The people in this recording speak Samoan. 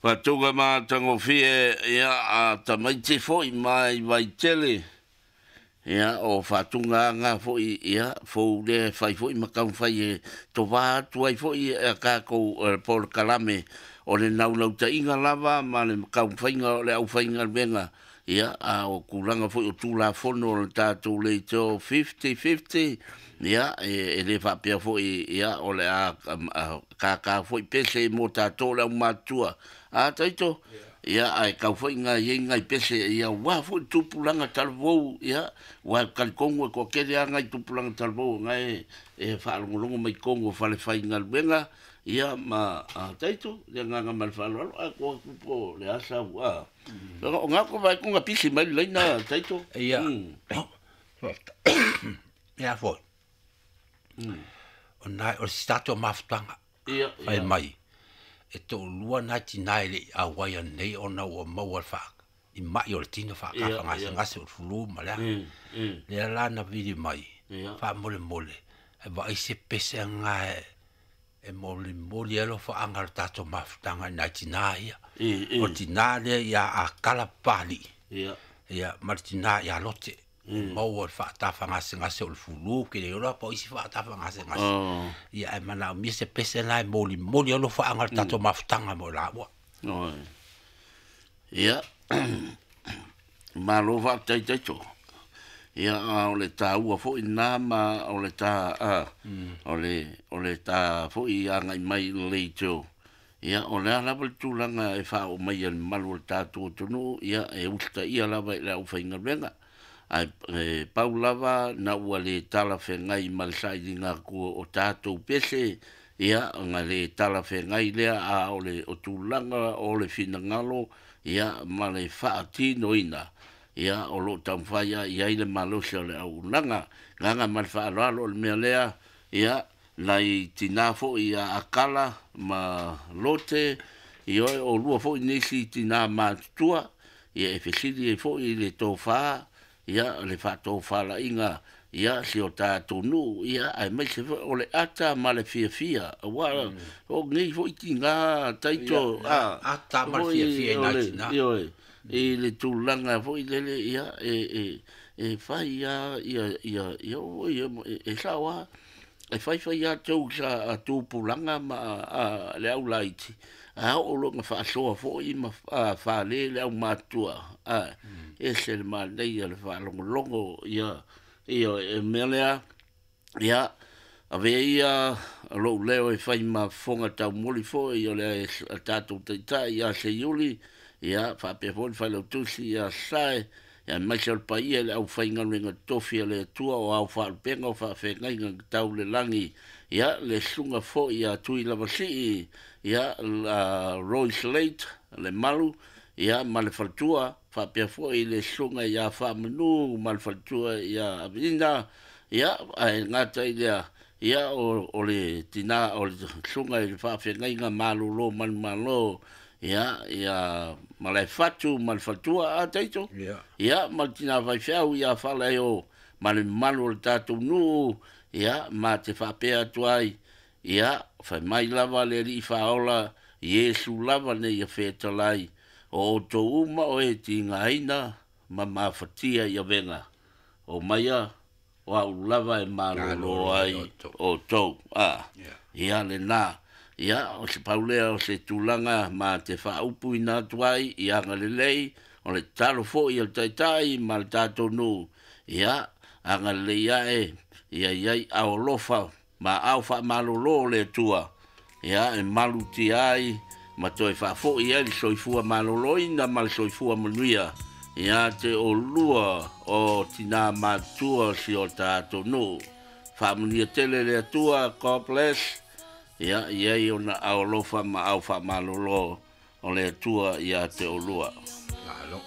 Faatuga matagofie, ia, a tamaiti foi mai Vaitele, ia, o faatugaaga foi, ia, fou lea e fai foi ma taumafai e tovā atu ai foi a tatou polokalame o le naunautaiga lava ma le taumafaiga o le aufaigaluega, ia, a o tulaga foi o Tulafono o le tatou Leitio 50-50, ia, e le faapea foi, ia, o le a tātā foi pese mo tatou le aumatutua. A taito, ia, ae tau foi na i ai nai pese, ia, aua foi le tupulaga talavou, ia, aua e talitonu e toatele lava nai tupulaga talavou o na e faalogologo mai i totonu o falefaigaluega, ia, ma a taito, le agaga ma le faaaloalo, ae tuu atu po o le a sau, a. O na ko vai kunga pisi mai le laina taito. Ia, ia foi. O nai o se tatou mafutaga. Ia, Fai mai, e toalua nai tinā e le i auai anei ona ua maua le faa, i mai o le tino faatafagasegase o le flu ma le a. Lea la na vili mai, faamolemole, e vaai se pese nga e molimoli ai alofaaga o le tatou mafutaga i nai tinā ia. O le tinā lea ia Akala Papalii, ia, ma le tinā ia Lote. Maua le faatafagasegase o le flu, ke le iloa po o isi faatafagasegase. Ia, ae manaomia se pese lena e molimoli ai alofaaga o le tatou mafutaga mo i laua. Oi. Ia, malo faafetai taito. Ia, a o le taua foi lena ma o le ta a, o le ta foi agai mai i le leitio. Ia, o le a lava le tulaga e faaoo mai e le mamalu o le tatou atunuu, ia, e usitaia lava i le aufaigaluega. Ae e pau lava na ua le talafeagai ma le sailiga atu o tatou pese, ia, ona le talafeagai lea, a o le o tulaga o le finagalo, ia, ma le faatinoina, ia, o lo o taumafai lava i ai le malosi o le auaunaga. Agaga ma le faaaloalo o le mea lea, ia, nai tinā foi ia Akala ma Lote, ioe, o lua foi nisi tinā matutua, ia, e fesili ai foi i le tofa, ia, le faatofalaiga, ia, si o tatou nuu, ia, aemaise foi o le ata ma le fiafia, aua o nei foi tinā taito, a, Ata ma le fiafia i nai tinā. Ioe, i le tulaga foi lele, ia, e fai lava ia, ia, ia, ia, e sao lava, e faifai lava tou sa a tupulaga ma a, le au laiti, a oo loa ina faasoa foi ma fale le aumatutua, a, ese le manaia o le faalogologo, ia, ia, e mea lea, ia, avea ia lou leo e fai ma fofoga taumoli foi o le tatou taitai ia Seiuli, ia, faapea foi le failautusi ia Sae, ia, aemaise o le paia i le aufaigaluega totofi a le Atua o ao faalupega o faafeagaiga na tau le lagi, ia, le susuga foi ia Tuilavasii, ia, la Roy Slate, le Malu, ia, ma le faletua, faapea foi le susuga ia Faamanu ma le faletua ia Avina, ia, ae gata i lea, ia, o le tinā o le susuga i le faafeagaiga malolo manumalo, ia, ia Malaefatu ma le faletua, a taito, ia, ma le tinā faifeau ia Faalaeo ma le mamalu o le tatou nuu, ia, ma te faapea atu ai, ia, fai mai lava le Alii Faaola, Iesu lava nei ia fetalai, o outou uma o e tigaina ma mafatia i avega, o maia o au lava e malolo ai outou. A, ia lena. Ia, o se pau lea o se tulaga ma te faaupuina atu ai i agalelei, o le tatalo foi a le Taitai ma le tatou nuu, ia, agalelei ae, ia i ai ao alofa ma ao faamalolo o le Atua, ia, e malutia ai ma toe faafoi ai le soifua maloloina ma le soifua manuia ia te olua o tinā matutua o si o tatou nuu. Faamanuia tele le Atua, God bless, ia, i ai ona ao alofa ma ao faamalolo o le Atua ia te olua. Malo.